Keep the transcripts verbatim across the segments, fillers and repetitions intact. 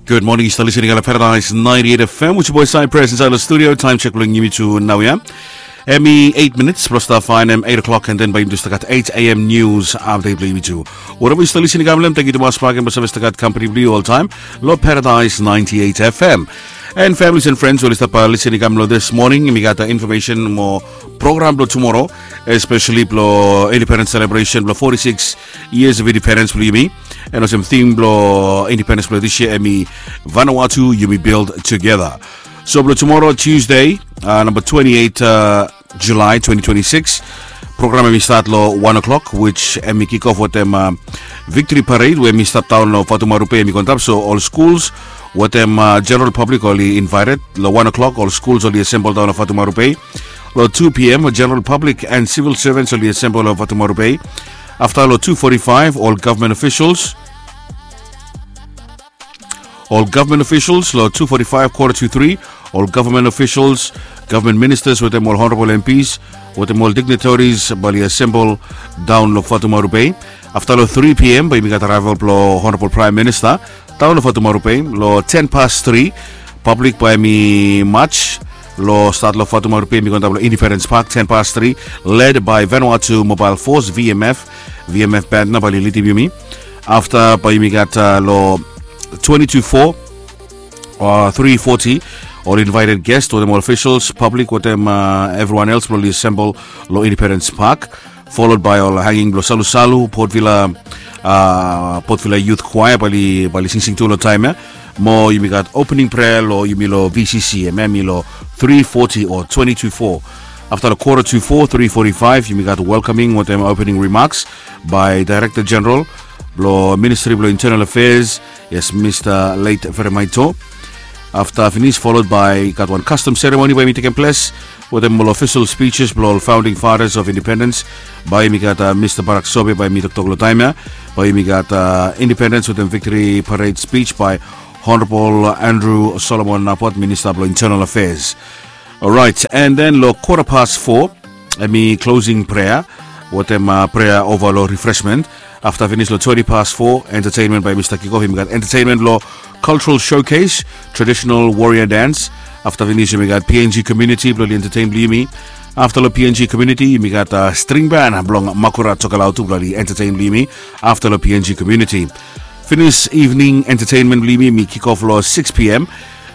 Gud moning, yu stap lisening long Paradise ninety-eight F M with your boy Cypress inside the studio. Time check blong yumi tu nau ya. Em i eight minutes blong stap faenem eight o'clock, and then bae yumi tu stap gat eight a.m. news update blong yumi tu. Whatever yu stap lisening long, thank you tumas bak blong save stap gat company blong yu oltaem long Paradise ninety-eight F M. And families and friends we oli stap lisening long this morning, yumi gat information mo program blong tumoro, especially blong independence celebration blong forty-six years of independence blong yumi. And olsem theme blong independence blong this year em i Vanuatu yumi build together. So blong tumoro Tuesday, uh, number twenty-eight, uh, July twenty twenty-six, program em i start long one o'clock, which em i kick off wetem, uh, victory parade we em i stap daon long Fatumaru Bay em i go antap. So ol schools wetem, uh, general public oli invited. Long one o'clock ol schools oli assemble daon long Fatumaru Bay. Long two p.m. general public and civil servants oli assemble long Fatumaru Bay. Afta long two forty-five ol government officials ol government officials long two forty-five quarter to three, ol government officials, government ministers wetem ol honorable M Ps wetem ol dignitaries bae oli assemble daon long Fatumaru Bay. Afta long three p.m. bae yumi gat arrival blong honorable prime minister daon long Fatumaru Bay. Long ten past three, public bae em i march long start long Fatumaru Bay, em i go antap long Independence Park ten past three, led by Vanuatu Mobile Force, V M F. V M F band nao bae oli lidim yumi. Afta bae yumi gat, uh, long twenty to four, uh, three forty, ol invited guest wetem ol officials, public wetem, uh, everyone else blong oli assemble long Independence Park, followed by ol hanging blong Salusalu, Port Vila, uh, Port Vila Youth Choir bae oli, bae oli singsing tu long taem ya. Mo yumi gat opening prayer long yumi long V C C, em ya em i long three forty o twenty to four. Afta long quarter to four, three forty-five, yumi gat welcoming wetem opening remarks by Director General blong Ministry blong Internal Affairs, yes, Mr. Late Feremaito. Afta finis, followed by, gat wan custom ceremony bae em i tekem ples wetem ol official speeches blong ol founding fathers of independence. Bae yumi gat, uh, Mr. Barak Sobe bae em i toktok long taem ya. Bae yumi gat, uh, independence wetem victory parade speech by Honorable Andrew Solomon Napot, Minister blong Internal Affairs. Alright, and then long quarter past four, em i closing prayer wetem, uh, prayer over long refreshment. Afta finis long twenty past four, entertainment bae yumi stap kick off. Yumi gat entertainment blong cultural showcase, traditional warrior dance. Afta finis yumi gat P N G community blong oli entertain blong yumi. Afta long P N G community yumi gat, uh, string band blong Makura Tokelau tu blong oli entertain blong yumi. Afta long P N G community, finis evening entertainment blong yumi, em i kick off long six p.m.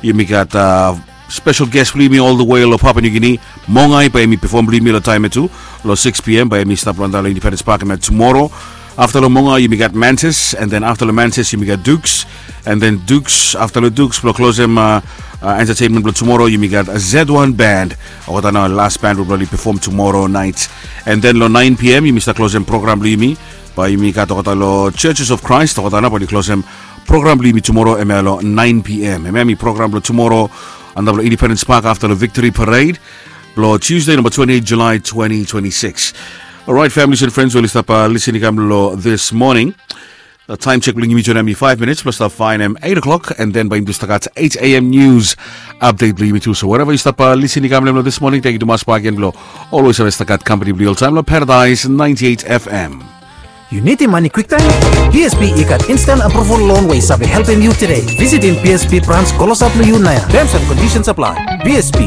Yumi gat, uh, special guest blong yumi all the way long Papua New Guinea, Mongai, bae em i perform blong yumi long taem ya tu. Long six p.m. bae em i stap long antap long Independence Park em ya tumoro. Afta long Mongai yumi gat Mantis, and then afta long Mantis yumi gat Dukes, and then Dukes, afta long Dukes blong klosem, uh, uh, entertainment blong tumoro yumi gat Z one Band. Olgeta nao last band we blong oli perform tumoro naet. And then long nine p.m. yumi stap klosem program blong yumi. Bae yumi gat olgeta long Churches of Christ, olgeta nao bae oli klosem program blong yumi tumoro, em ya long nine p.m. Em ya em i program blong tumoro antap long Independence Park afta long victory parade blong Tuesday, number twenty-eight July twenty twenty-six. Alright, families and friends we oli stap, uh, lisening long this morning. Uh, taem check blong yumi tu nao em i five minutes blong stap faenem eight o'clock, and then bae yumi tu stap gat eight a.m. news update blong yumi tu. So wherever yu stap, uh, lisening long this morning, thank you tumas bak gen blong always save stap gat company blong yu oltaem long Paradise ninety-eight F M. Yu nidim mane kwiktaem? B S B i gat instant approval loan we i save helpem yu tede. Visitim B S B branch klosap long yu naoia. Terms and conditions apply. B S B,